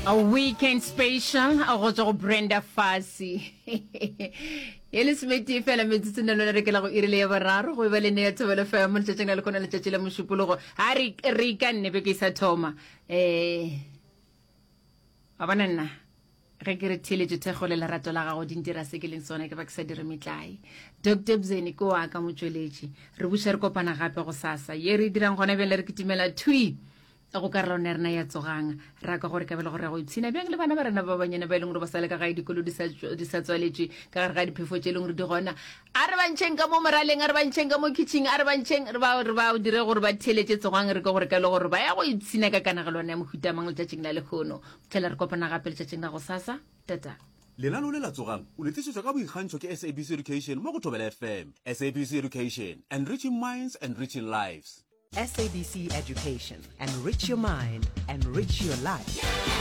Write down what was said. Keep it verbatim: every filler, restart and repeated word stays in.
A weekend special go tswa go Brenda Fassie. E lesometee fela metsotso nna lona re kela go iri le ya boraro go e ba le nea Thobela FM letšatšing la lekgona letšatši la Mošupologo. A re re ikanne beke e sa thoma. Eh wa bona nna ge ke re theeletše thekgo le lerato la gago di ntira se ke leng sona ke ba ke sa dire metlae. Doctor Bzeni ke wa ka motšweletši. Re buša re kopana gape go sasa. Ye re e dirang gona bjale re kitimela thwi go karolwana ya rena ya Tsogang. Ra kwa gore kabelo gore ya go ipshina bjang le bana ba rena ba banyane ba e leng gore ba sa le ka gae dikolo di sa di sa tswaletšwe ka gare ga diphefo tše e leng gore di gona. A re ba ntšheng ka mo moraleng, a re ba ntšheng ka mo kitšhing, a re ba ntšheng re ba re ba dire gore ba theeletše Tsogang re kwe gore kabelo gore ba ya go ipshina ka kanegelwana ya mohuta mang letšatšing la lehono. Fihlela re kopana gape letšatšing la gosasa. Tata. Lenaneo le la Tsogang o le tlišetšwa ka boikgantšho ke SABC Education mo go Thobela FM. SABC Education, enriching minds, enriching lives. SABC Education, enrich your mind, enrich your life.